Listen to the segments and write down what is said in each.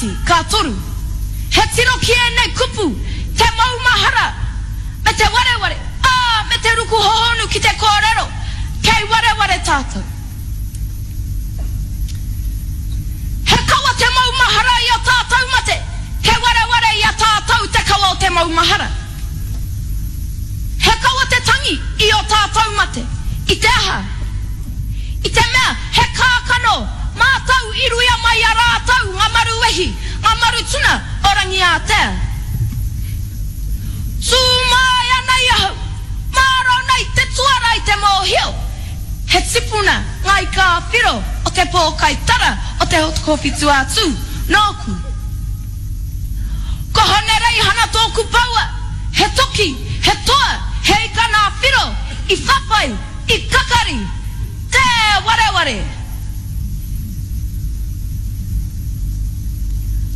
Kāti, ka toru. He tiro ki ēnei kupu, te maumahara, me te wareware, ā, me te ruku hohonu ki te kōrero, kei wareware tātou. He kawa te maumahara i ō tātou mate, kei wareware i a tātou te kawa o te maumahara. He kawa te tangi i ō tātou mate, i te aha? I te mea he kākano mātou i ruia mai i a rātou ngā maru wehi, ngā maru tuna o Rangiātea. Tū mai ana i ahau, mārō nei te tuara i te mōhio, he tipuna ngā ika ā-whiro o te pōkai tara o te Hokowhitu-ā-Tū, nōku. Ko Hone Reihana tōku paua, he toki, he toa, he ika nā Whiro, i whawhai, i kakari, tē wareware!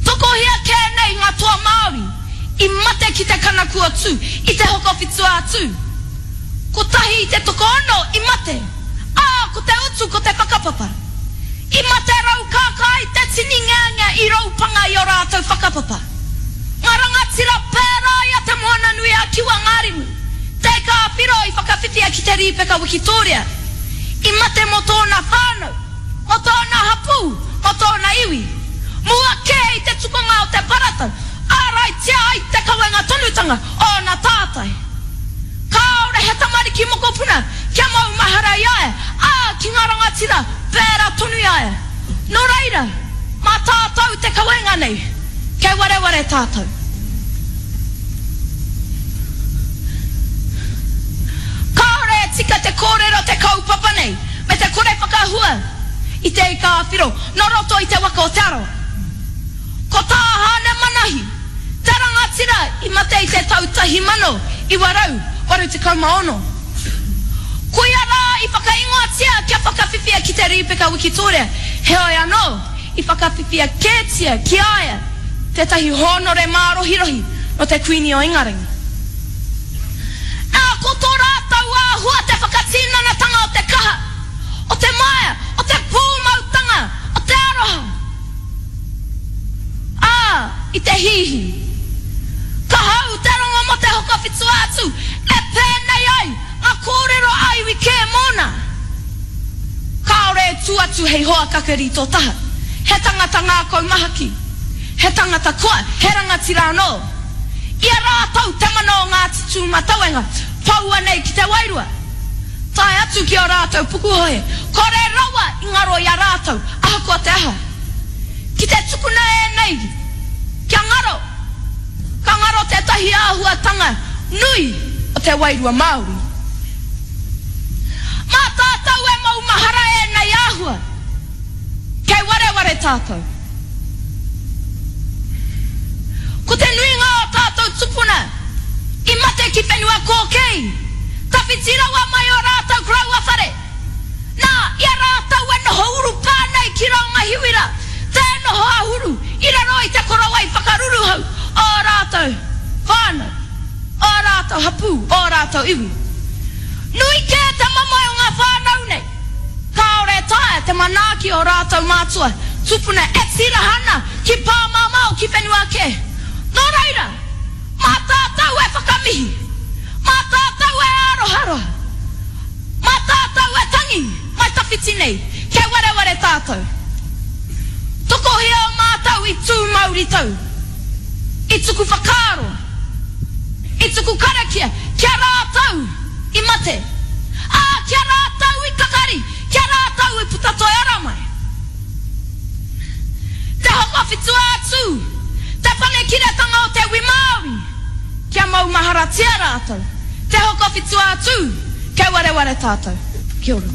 Tokohia kē nei ngā toa Māori i mate ki te kanaku o Tū, i te Hokowhitu-ā-Tū. Kotahi i te tokoono i mate, ā, ko te utu ko te whakapapa. I mate raukākā ai te tini ngeangea i roupanga i ō rātou whakapapa. Ngā rangatira pērā i a Te Moananui-a-Kiwa Ngārimu, Te Ika-a-Whiro i whakawhiwhia ki te Rīpeka Wikitōria, i mate mō tōna whānau, mō tōna hapū, mō tōna iwi. Mua kē i te tukunga o te paratau, āraitia ai te kawenga tonutanga o ōna tātai. Kāore he tamariki mokopuna kia maumahara i a ia, ā, ki ngā rangatira, pērā tonu i a ia. Nō reira, mā tātou te kawenga nei, kei wareware tātou. Kāore e tika te kōrero te kaupapa nei me te kore whakahua i te ika ā-whiro nō roto i te waka o Te Arawa. Ko tā Haane Manahi, Te rangatira i mate i te tau 1986. Koia rā i whakaingoatia kia whakawhiwhia ki te Rīpeka Wikitōria, heoi anō, i whakawhiwhia kētia ki a ia tētahi hōnore mārohirohi nō te Kuini o Ingarangi. Ā, ko tō rātou āhua te whakatinanatanga o te kaha, o te maea, o te pūmautanga, o te aroha. Ā, i te hihi. Ka hau te rongo mō te Hokowhitu-a-Tū, e pēnei ai ngā kōrero a iwi kē mōna. Kāore e tū atu hei hoa kakari tō taha. He tangata ngākau mahaki, he tangata koa, he rangatira anō. I a rātou te mana o Ngāti Tūmatauenga, poua nei ki te wairua. Tae atu ki ō rātou pukuhohe, kore rawa i ngaro i a rātou, ahakoa te aha. Ki te tukuna ēnei kia ngaro, ka ngaro tētahi āhuatanga nui o te wairua Māori. Mā tātou e maumahara ēnei āhua, kei wareware tātou. Ko te nuinga o tātou tupuna i mate ki whenua kōkēi, tawhiti rawa mai ō rātou koroua whare. Nā, i a rātou e noho urupā nei ki Raungahiwira, tē noho āhuru i raro i te korowai whakaruruhau o ō rātou whānau, ō rātou hapū, ō rātou iwi. Nui kē te mamae o ngā whānau nei, kāore e taea te manaaki ō rātou mātua tupuna e tīraha ana ki pāmamao ki whenua kē. Nō reira, mā tātou e whakamihi, mā tātou e āroharoha, Mā tātou e tangi mai tawhiti nei, kei wareware tātou. Tokohia o mātou i tū mauritau, i tuku whakaaro, i tuku karakia ki a rātou i mate, ā, ki a rātou i kakari, ki a rātou i puta toi ara mai. Te Hokowhitu-ā-Tū, te panekiretanga o te wi Māori, kia maumaharatia rātou. Te Hokowhitu-ā-Tū, Kei wareware tātou. Kia ora.